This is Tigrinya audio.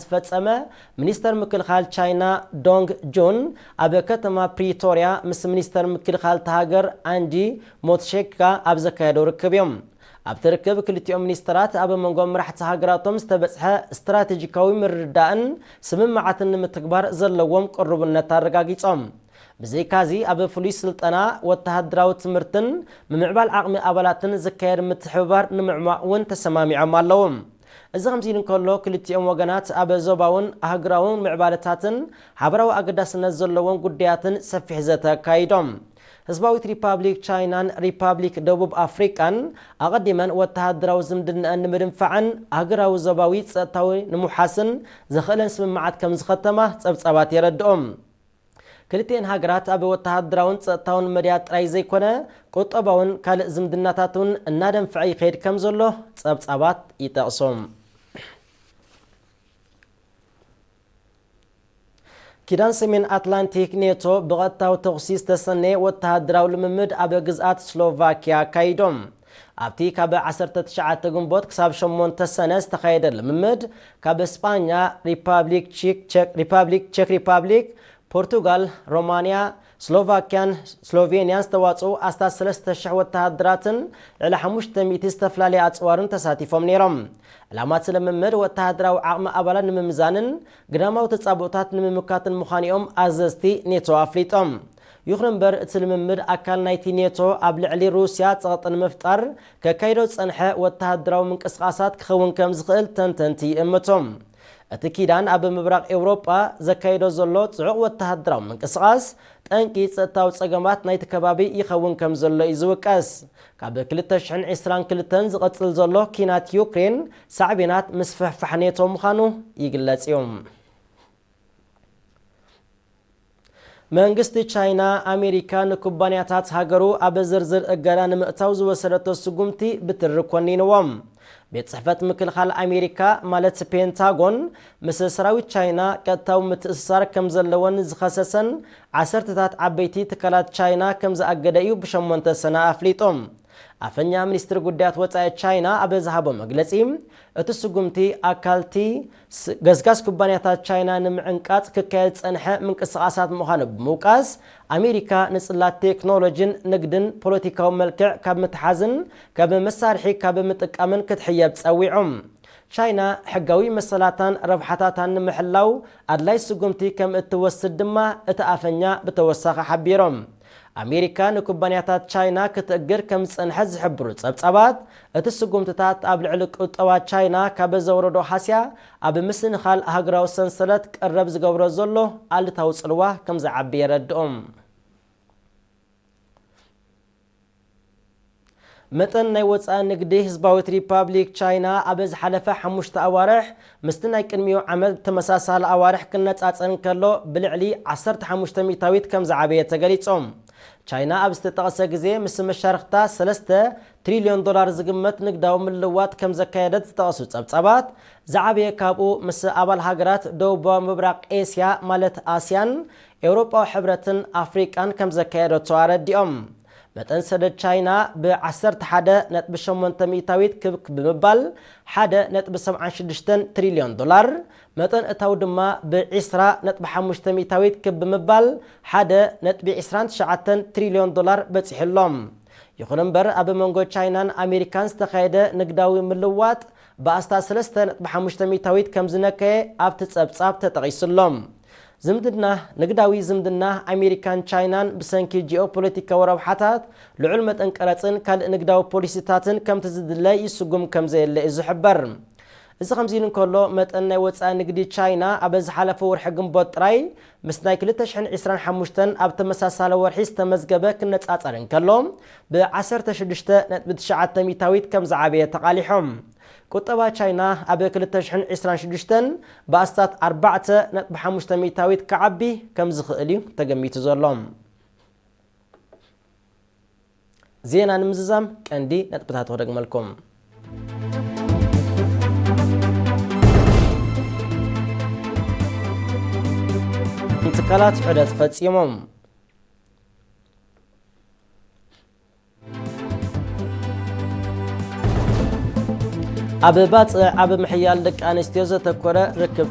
ዝፈጸመ ሚኒስተር ምክልኻል ቻይና ዶንግ ጁን ኣብ ከተማ ፕሪቶርያ ምስ ሚኒስተር ምክልኻል እታ ሃገር ኣንጂ ሞትሼካ ኣብ ዘካየደው ርክብ እዮም። ኣብቲ ርክብ ክልቲኦም ሚኒስተራት ኣብ መንጎ መራሕቲ ሃገራቶም ዝተበጽሐ ስትራቴጂካዊ ምርድዳእን ስምምዓትን ንምትግባር ዘለዎም ቅሩብነት ኣረጋጊጾም። ብዘይካዚ ኣብ ፍሉይ ስልጠና፣ ወተሃደራዊ ትምህርትን ምምዕባል ዓቕሚ ኣባላትን ዝካየድ ምትሕብባር ንምዕሟቕ እውን ተሰማሚዖም ኣለዉ። እዚ ከምዚ ኢሉ እንከሎ፣ ክልቲኦም ወገናት ኣብ ዞባውን ኣህጉራውን ምዕባለታትን ሓበራዊ ኣገዳስነት ዘለዎም ጉዳያትን ሰፊሕ ዘተ ኣካይዶም። ህዝባዊት ሪፓብሊክ ቻይናን ሪፓብሊክ ደቡብ ኣፍሪቃን ኣቐዲመን ወተሃደራዊ ዝምድናኣን ንምድንፋዕን ኣህጉራዊ ዞባዊ ጸጥታዊ ንምውሓስን ዘኽእለን ስምምዓት ከም ዝኸተማ ጸብጻባት የረድኦም። ክልቲኤን ሃገራት ኣብ ወተሃደራውን ጸጥታውን መድያ ጥራይ ዘይኮነ፣ ቁጠባውን ካልእ ዝምድናታት እውን እናደንፍዐ ይኸይድ ከም ዘሎ ጸብጻባት ይጠቕሱ። ኪዳን ሰሜን ኣትላንቲክ ኔቶ ብቐጥታዊ ተኹሲ ዝተሰነየ ወተሃደራዊ ልምምድ ኣብ ግዝኣት ስሎቫኪያ ኣካይዶም። ኣብቲ ካብ ዓሰርተ ትሽዓተ ግንቦት ክሳብ ሸሞንተ ሰነ ዝተኻየደ ልምምድ፣ ካብ ስጳኛ፣ ሪፓብሊክ ቺክ፣ ቸክ፣ ሪፓብሊክ ቸክ ሪፓብሊክ፣ ፖርቱጋል፣ ሮማንያ፣ ስሎቫኪያን ስሎቬንያን ዝተዋጽኡ ኣስታት ሰለስተ ሽሕ ወተሃደራትን ልዕሊ ሓሙሽተ ሚእቲ ዝተፈላለየ ኣጽዋርን ተሳቲፎም ነይሮም። ዕላማ እቲ ልምምድ ወተሃደራዊ ዓቕሚ ኣባላት ንምምዛንን ግዳማዊ ተጻብኦታት ንምምካትን ምዃኑ እዮም ኣዘዝቲ ኔቶ ኣፍሊጦም። ይኹን እምበር፣ እቲ ልምምድ ኣካል ናይቲ ኔቶ ኣብ ልዕሊ ሩስያ ጸቕጢ ንምፍጣር ከካይዶ ዝጸንሐ ወተሃደራዊ ምንቅስቓሳት ክኸውን ከም ዝኽእል ተንተንቲ ይእምቱ። እቲ ኪዳን ኣብ ምብራቕ ኤውሮጳ ዘካይዶ ዘሎ ጽዑቕ ወተሃደራዊ ምንቅስቓስ ጠንቂ ጸጥታዊ ጸገማት ናይቲ ከባቢ ይኸውን ከም ዘሎ እዩ ዝውቀስ። ካብ ክልተ ሽሕን ዕስራን ክልተን ዝቐጽል ዘሎ ኪናት ዩክሬን ሳዕቤናት ምስፍሕፋሕ ኔቶ ምዃኑ ይግለጽ እዩ። መንግስቲ ቻይና፣ ኣሜሪካ ንኩባንያታት ሃገሩ ኣብ ዝርዝር እገዳ ንምእታው ዝወሰደቶ ስጉምቲ ብትሪ ኮኒንዎም። ቤት ጽሕፈት ምክልኻል ኣሜሪካ፣ ማለት ፔንታጎን፣ ምስ ሰራዊት ቻይና ቀጥታዊ ምትእስሳር ከም ዘለወን ዝኸሰሰን ዓሰርተታት ዓበይቲ ትካላት ቻይና ከም ዝኣገደ እዩ ብሸሞንተ ሰነ ኣፍሊጡ። ኣፈኛ ሚኒስትሪ ጉዳያት ወጻኢ ቻይና ኣብ ዝሃቦ መግለጺ፣ እቲ ስጉምቲ ኣካልቲ ስ-፣ ገስጋስ ኩባንያታት ቻይና ንምዕንቃጽ ክካየድ ዝጸንሐ ምንቅስቓሳት ምዃኑ ብምውቃስ፣ ኣሜሪካ ንጽላት ቴክኖሎጂን ንግድን ፖለቲካዊ መልክዕ ካብ ምትሓዝን ካብ መሳርሒ ካብ ምጥቃምን ክትሕየብ ጸዊዑ። ቻይና ሕጋዊ መሰላታን ረብሓታታን ንምሕላው ኣድላይ ስጉምቲ ከም እትወስድ ድማ እቲ ኣፈኛ ብተወሳኺ ሓቢሮም። ኣሜሪካ ንኩባንያታት ቻይና ክትእግድ ከም ዝጸንሐት ዝሕብሩ ጸብጻባት፣ እቲ ስጉምትታት ኣብ ልዕሊ ቁጠባ ቻይና ካብ ዘውረዶ ሃስያ ኣብ ምስንኻል ሃገራዊ ሰንሰለት ቀረብ ዝገብሮ ዘሎ ኣሉታዊ ጽልዋ ከም ዝዓቢ የረድኦም። መጠን ናይ ወጻኢ ንግዲ ህዝባዊት ሪፓብሊክ ቻይና ኣብ ዝሓለፈ ሓሙሽተ ኣዋርሕ ምስቲ ናይ ቅድሚኡ ዓመት ተመሳሳሊ ኣዋርሕ ክነጻጸር እንከሎ ብልዕሊ ዓሰርተ ሓሙሽተ ሚእታዊት ከም ዝዓበየ ተገሊጾም። ቻይና ኣብ ዝተጠቕሰ ግዜ ምስ መሻርኽታ ሰለስተ ትሪልዮን ዶላር ዝግመት ንግዳዊ ምልዋጥ ከም ዘካየደት ዝጠቐሱ ጸብጻባት፣ ዝዓበየ ካብኡ ምስ ኣባል ሃገራት ደቡባዊ ምብራቕ ኤስያ፣ ማለት ኣስያን፣ ኤውሮጳዊ ሕብረትን ኣፍሪቃን ከም ዘካየደቶ ኣረዲኦም። መጠን ሰደድ ቻይና ብ11.8 ሚእታዊት ክብ ብምባል ሓደ ነጥቢ ሰብዓን ሽዱሽተን ትሪልዮን ዶላር፣ መጠን እታው ድማ ብ20.5 ሚእታዊት ክብ ብምባል ሓደ ነጥቢ ዕስራን ትሽዓተን ትሪልዮን ዶላር በጺሑ ኣሎ። ይኹን እምበር፣ ኣብ መንጎ ቻይናን ኣሜሪካን ዝተኻየደ ንግዳዊ ምልዋጥ ብኣስታት ሰለስተ ነጥቢ ሓሙሽተ ሚእታዊት ከም ዝነከየ ኣብቲ ጸብጻብ ተጠቒሱ ኣሎ። ዝምድና፣ ንግዳዊ ዝምድና ኣሜሪካን ቻይናን ብሰንኪ ጂኦፖለቲካዊ ረብሓታት፣ ልዑል መጠን ቀረጽን ካልእ ንግዳዊ ፖሊሲታትን ከምቲ ዝድለ ይስጉም ከም ዘየለ እዩ ዝሕበር። እዚ ከምዚ ኢሉ እንከሎ፣ መጠን ናይ ወጻኢ ንግዲ ቻይና ኣብ ዝሓለፈ ወርሒ ግንቦት ጥራይ ምስ ናይ ክልተ ሽሕን ዕስራን ሓሙሽተን ኣብ ተመሳሳሊ ወርሒ ዝተመዝገበ ክነጻጸር እንከሎ፣ ብ ዓሰርተ ሽዱሽተ ነጥቢ ትሽዓተ ሚእታዊት ከም ዝዓበየ ተቓሊሖም። ቁጠባ ቻይና ኣብ ክልተ ሽሕን ዕስራን ሽዱሽተን ብኣስታት ኣርባዕተ ነጥቢ ሓሙሽተ ሚእታዊት ክዓቢ ከም ዝኽእል እዩ ተገሚቱ ዘሎ። ዜና ንምዝዛም ቀንዲ ነጥብታት ክደግመልኩም። ትካላት ዑደት ፈጺሞም። ኣብ ባፅዕ ኣብ ምሕያል ደቂ ኣንስትዮ ዘተኮረ ርክብ